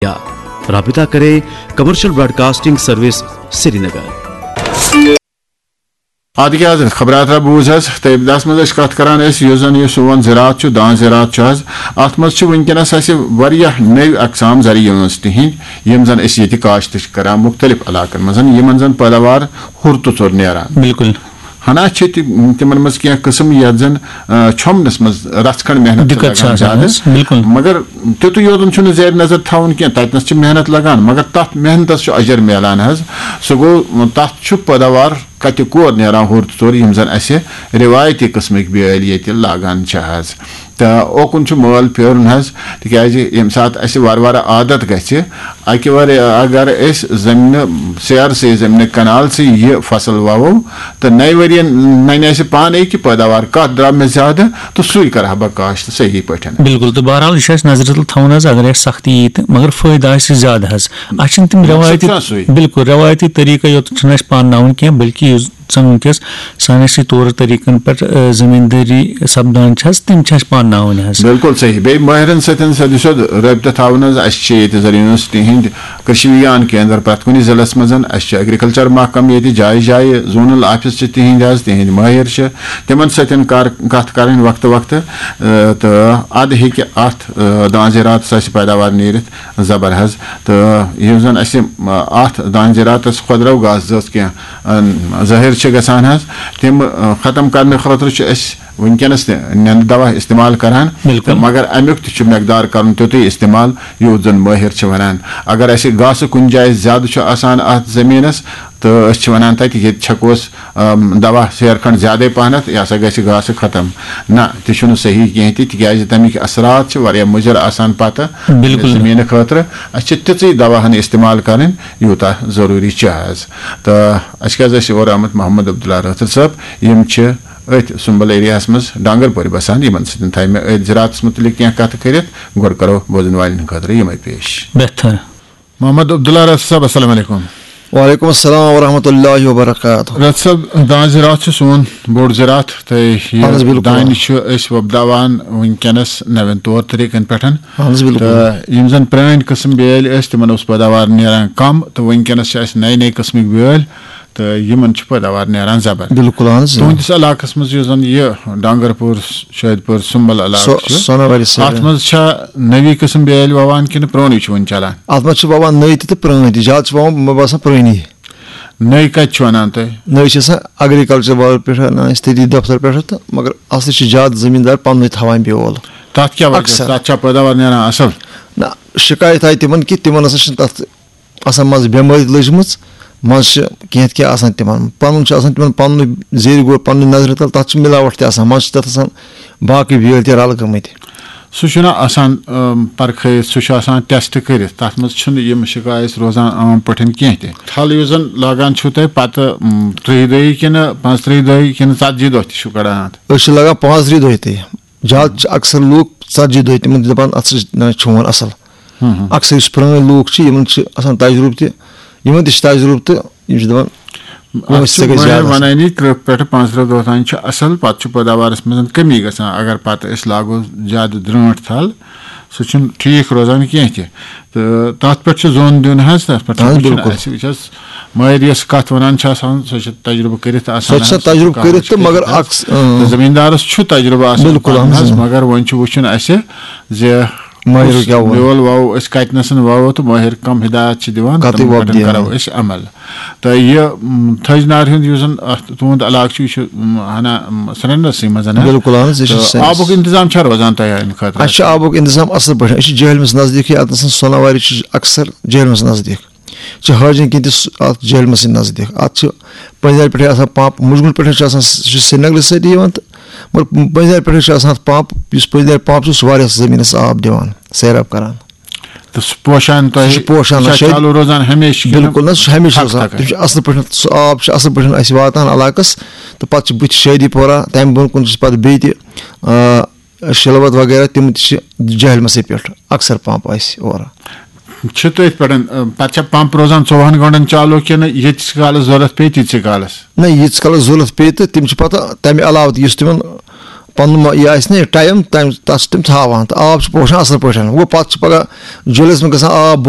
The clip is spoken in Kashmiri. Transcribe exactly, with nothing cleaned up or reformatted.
یا رابطہ کریں کمرشل براڈکاسٹنگ سروس سری نگر۔ آدگی حضرت خبرات را بوز حظ، تہٕ دس منٛز ٲسۍ کتھ کران أسۍ، یُس زن یہِ سون زراعت چھُ، دان زراعت چھُ حظ، اتھ منٛز چھِ وٕنکیٚنس اسہِ واریاہ نٔوۍ اقسام زرعی یونٹس تِہنٛدۍ، یِم زن أسۍ ییٚتہِ کاشت چھِ کران مختلف علاقن منٛز، یِمن زن پیداوار ہُر تہٕ ژوٚر نیران۔ بالکل۔ ہنا چھِ تہِ-، تِمن منٛز کینٛہہ قٕسم یتھ زن، آ، چھۄمبنس منٛز رژھ کھنڈ محنت چھِ دِقت چھِ لگان آسان زیادٕ۔ حظ، بالکل۔ مگر تیُتُے یوت چھُنہٕ زیر نظر تھاوُن کینٛہہ، تتنس چھِ محنت لگان، مگر تتھ محنتس چھُ اجر میلان حظ۔ سُہ گوٚو، تتھ چھُ پیداوار کتہِ کور نیران ہُر تہٕ ژوٚر، یِم زن اسہِ رِوایتی قٕسمٕکۍ بیٲلۍ ییٚتہِ لاگان چھِ حظ۔ تہٕ اوکُن چھُ مٲل پھیرُن حظ، تِکیازِ ییٚمہِ ساتہٕ اسہِ وارٕ وارٕ عادت گژھِ، اکہِ وارٕ اگر أسۍ زمینہٕ سیر سے زمینہٕ کنال سے یہِ فصل ووو، تہٕ نَیہِ ؤریہِ ننہِ اسہِ پانے کہِ پیداوار کتھ درٛاو مےٚ زیادٕ، تہٕ سُے کرٕ ہا بہٕ کاشت صحیح پٲٹھۍ۔ بالکل، تہٕ بہرحال یہِ چھُ اسہِ نظرِ تل تھاوُن حظ، اگر اسہِ سختی یی تہٕ مگر فٲیدٕ آسہِ زیادٕ حظ۔ اسہِ چھِنہٕ تِم مقصد رٮ۪وایتی، چھُ سُے۔ بالکل، رٮ۪وایتی طریٖقہٕ یوت چھُنہٕ اسہِ پانناوُن کینٛہہ، بلکہِ یُس زن وٕنکیٚس سانٮ۪سٕے طور طریٖقن پٮ۪ٹھ، آ، زٔمیٖندٲری سپدان چھِ حظ، تِم چھِ اَسہِ پانناوٕنۍ حظ۔ بالکل صحیح۔ بیٚیہِ مٲہرن سۭتۍ سیوٚد سیوٚد رٲبطہٕ تھاوُن حظ۔ اَسہِ چھِ ییٚتہِ زرعی یونٹس تِہنٛدۍ کٔشیٖرِ وِگیان کیندر پرٛٮ۪تھ کُنہِ ضلعس منٛز۔ اَسہِ چھُ ایگریکلچر محکمہٕ ییٚتہِ جایہِ جایہِ، زونل آفس چھِ تِہنٛدۍ حظ، تِہنٛدۍ مٲہر چھِ۔ تِمن سۭتۍ کر-، کتھ کرٕنۍ وقتہٕ وقتہٕ، آ، تہٕ ادٕ ہیٚکہِ اتھ، آ، دان زِراعتس آسہِ پیداوار نیٖرِتھ زبر حظ۔ تہٕ یُس زن اَسہِ، آ، اتھ دان زِراعتس خۄدرو گاسہٕ زٲژ کینٛہہ ظٲہِر چھِ گژھان حظ، تِم، آ، ختم کرنہٕ خٲطرٕ چھِ أسۍ وٕنکیٚنس تہِ نٮ۪نٛدٕ دوا استعمال کران۔ بالکل۔ تہٕ مگر امیُک تہِ چھُ مقدار کرُن تیُتُے استعمال یوٗت زن مٲہر چھِ ونان۔ اگر اَسہِ گاسہٕ کُنہِ جایہِ زیادٕ چھُ آسان اتھ زٔمیٖنس، تہٕ أسۍ چھِ ونان تتہِ ییٚتہِ چھکوس، آم، دوا سیر کھنڈ زیادے پہنتھ، یہِ ہسا گژھِ گاسہٕ ختم۔ نہ، تہِ چھُنہٕ صحیح کینٛہہ تہِ، تِکیازِ تمیِکۍ اثرات چھِ واریاہ مُضر آسان پتہٕ بالکل۔ زٔمیٖنہٕ خٲطرٕ۔ اَسہِ چھِ تِژٕے دوا ہن استعمال کرٕنۍ، یوٗتاہ ضروٗری چھُ حظ۔ تہٕ اَسہِ کیٛاہ حظ ٲسۍ یور آمٕتۍ محمد عبداللہ رٲتھٕر صٲب، یِم چھِ أتھۍ سُمبل ایریاہَس منٛز ڈانگرپورِ بسان، یِمَن سۭتۍ تھایہِ مےٚ أتھۍ زِراعتَس مُتعلِق کینٛہہ کَتھٕ کٔرِتھ۔ گۄڈٕ کَرو بوزَن والٮ۪ن خٲطرٕ یِمَے پیش۔ بہتر۔ محمد عبداللہ رٲتھٕر صٲب، السلام علیکم۔ وعلیکم السلام ورحمۃ اللہ وبرکاتہ۔ رٲتھٕر صٲب، دانہِ زِراعت چھُ سون بوٚڑ زِراعت، تہٕ یہِ اَہَن حظ، بِلکُل۔ دانہِ چھُ أسۍ وۄپداوان وٕنکیٚنَس نوٮ۪ن طور طریٖقَن پٮ۪ٹھ۔ اَہَن حظ، بِلکُل۔ تہٕ یِم زَن پرٛٲنۍ قٕسٕم بیٲلۍ ٲسۍ، تِمَن اوس پٲداوار نیران کَم، تہٕ وٕنکیٚنَس چھِ اَسہِ نَیہِ نَیہِ قٕسمٕکۍ بیٲلۍ۔ تہٕ یِمن چھُ پٲداوار نیران زبر۔ بِلکُل، اَہَن حظ، اۭں۔ تُہٕنٛدِس علاقس منٛز یُس زَن یہِ ڈانگرپوٗر، شٲدپوٗر، سُمبل علاقہٕ سۄ-، چھُ، سۄنہٕ وارِ سۭتۍ۔ اَتھ منٛز چھا نٔوی قٕسم بیٲلۍ وَوان کِنہٕ پرٛونُے چھُ وُنہِ چلان؟ اَتھ منٛز چھِ وَوان نٔوۍ تہِ تہٕ پرٛٲنۍ تہِ، زیادٕ چھِ وَوان، مےٚ باسان، پرٛٲنی۔ نٔوۍ کَتہِ چھِ وَنان تُہۍ؟ نٔوۍ چھِ آسان ایگریکلچر والٮ۪ن پٮ۪ٹھ اَنان أسۍ تٔتی دفتر پٮ۪ٹھ تہٕ، مگر اَصلی چھِ زیادٕ زٔمیٖندار پَننُے تھاوان بیول۔ تَتھ کیٛاہ وجہ چھُ؟ اَکثر۔ تَتھ چھا پٲداوار نیران اَصٕل؟ نہ، شِکایت آیہِ تِمن کہِ تِمن ہسا چھِنہٕ تَتھ آسان منٛزٕ بٮ۪مٲرۍ لٔجمٕژ، منٛزٕ چھِ کینٛہہ تہِ کینٛہہ آسان تِمن، پَنُن چھُ آسان تِمن پَنُنُے زیرِ گوٚو پَننہِ نظرِ تَل، تَتھ چھِ مِلاوَٹھ تہِ آسان، منٛزٕ چھِ تَتھ آسان باقٕے بیٲلۍ تہِ رَلہٕ گٔمٕتۍ۔ سُہ چھُنہ آسان، اَم، پَرکھٲیِتھ، سُہ چھُ آسان ٹیسٹ کٔرِتھ، تَتھ منٛز چھُنہٕ یِم شِکایَت روزان عام پٲٹھۍ کینٛہہ تہِ۔ تھل یُس زَن لاگان چھُو تُہۍ پَتہٕ، اَم، ترٛہہِ دۄہہِ کِنہٕ پانٛژترٛہہِ دۄہہِ کِنہٕ ژَتجی دۄہ تہِ چھُو کَڑان اَتھ؟ أسۍ چھِ لاگان پانٛژترٛہہِ دۄہہِ تہِ۔ زیادٕ چھِ اکثر لوٗکھ ژتجی دۄہہِ تِمن چھِ دَپان، اَتھ سۭتۍ چھُ نہ چون اَصٕل۔ ہُم، ہُم۔ اکثر یُس پرٛٲنۍ لوٗکھ چھِ، یِمن چھِ آسان تجرُبہٕ تہِ، یِمن تہِ چھِ تجرُبہٕ تہٕ یِم چھِ دَپان، اَتھ وٲنٛسہِ چھُ ژےٚ گژھِ زیادٕ مٲہِر اَصٕل۔ وَنٲنی، تٕرٛہ پٮ۪ٹھٕ پانٛژترٕٛہ دۄہ تام چھِ اَصٕل، پَتہٕ چھُ پٲداوارَس منٛز کٔمی گژھان۔ اگر پَتہٕ أسۍ لاگو زیادٕ درٛٲنٛٹھ تھل، سُہ چھُنہٕ ٹھیٖک روزان کینٛہہ تہِ۔ تہٕ تَتھ پٮ۪ٹھ چھُ زوٚن دیُن حظ، تَتھ پٮ۪ٹھ اَہَن حظ، چھُنہٕ بِلکُل۔ اَسہِ وٕچھ حظ، مٲہِر یۄس کَتھ وَنان چھِ آسان، سۄ چھِ تَجرُبہٕ کٔرِتھ آسان سۄ چھِ حظ، سۄ تَجرُبہٕ کَتھ کٔرِتھ چھِ تہٕ مگر کٔرِتھ۔ اَکھ، اۭں۔ تہٕ زٔمیٖندارَس چھُ تَجرُبہٕ آسان بِلکُل، پَنُن اَہَن حظ، حظ، اۭں۔ مگر وۄنۍ چھُ وٕچھُن اَسہِ زِ مٲہِر کُس کیٛاہ ووٚن۔ بیول وَوو أسۍ، کَتِنَسَن وَوو تہٕ مٲہِر کَم ہِدایت چھِ دِوان، کَتٕے تِمَن وۄپدِ پٮ۪ٹھ کَرو اَنان۔ أسۍ عمل۔ تہٕ یہِ، م، تھٔج نارِ ہُنٛد یُس زَن اَتھ تُہُنٛد علاقہٕ چھُ، یہِ چھُ، م، ہنا، م، سرینَسٕے منٛز، ہنا؟ بِلکُل، اَہَن حظ، یہِ چھُ تہٕ سرینَس۔ آبُک اِنتِظام چھا روزان تۄہہِ اَمہِ خٲطرٕ؟ اَسہِ چھُ آبُک اِنتِظام اَصٕل پٲٹھۍ۔ أسۍ چھِ جہلمَس نزدیٖکٕے، اَتنَسَن سۄناوارِ چھِ اَکثر جہلمَس نزدیٖک۔ چھِ حٲجِن کِنۍ تہِ سُہ اَتھ جہلمَسٕے نزدیٖک۔ اَتھ چھِ پٔنٛزۍ نارِ پٮ۪ٹھَے آسان پمپ، مُجگُل پٮ۪ٹھَے چھُ آسان، سُہ چھُ سرینگرٕ سۭتی یِوان تہٕ مگر پٔنٛزۍ نارِ پٮ۪ٹھَے چھُ آسان اَتھ پمپ، یُس پٔنٛزۍ نارِ پمپ چھُ، سُہ واریاہ زٔمیٖنَس آب دِوان، سیراب کَران۔ تہٕ سُہ پوشان تۄہہِ، سُہ چھُ پوشان، سُہ چھا شٲید-، چالوٗ روزان ہمیشہِ کِنہٕ بِلکُل نہ، سُہ چھُ ہمیشہِ تھکھ روزان۔ تھکھ؟ تِم چھِ اَصٕل پٲٹھۍ، سُہ آب چھُ اَصٕل پٲٹھۍ اَسہِ واتان علاقَس، تہٕ پَتہٕ چھِ بٕتھِ شٲدی پورہ، تَمہِ برونٛہہ کُن چھِ پَتہٕ بیٚیہِ تہِ، آ، شِلوَت وغیرہ، تِم تہِ چھِ جہلمَسٕے پٮ۪ٹھ اَکثر پَمپ اَسہِ اورٕ۔ چھِ تٔتھۍ پٮ۪ٹھ، آ، پَتہٕ چھا پَمپ روزان ژوٚوُہَن گٲنٛٹَن چالوٗ کِنہٕ ییٖتِس کالَس ضوٚرَتھ پیٚیہِ تیٖتسٕے کالَس؟ نہ، ییٖتِس کالَس ضوٚرَتھ پیٚیہِ تہٕ تِم چھِ پَتہٕ تَمہِ علاوٕ تہِ یُس تِمَن پَنُن ما-، یہِ آسہِ نہ یہِ ٹایم، تَمہِ، تَتھ چھِ تِم تھاوان، تہٕ آب چھِ پوشان اَصٕل پٲٹھۍ۔ گوٚو، پَتہٕ چھُ پَگاہ جُلَس منٛز گژھان آب بۄن،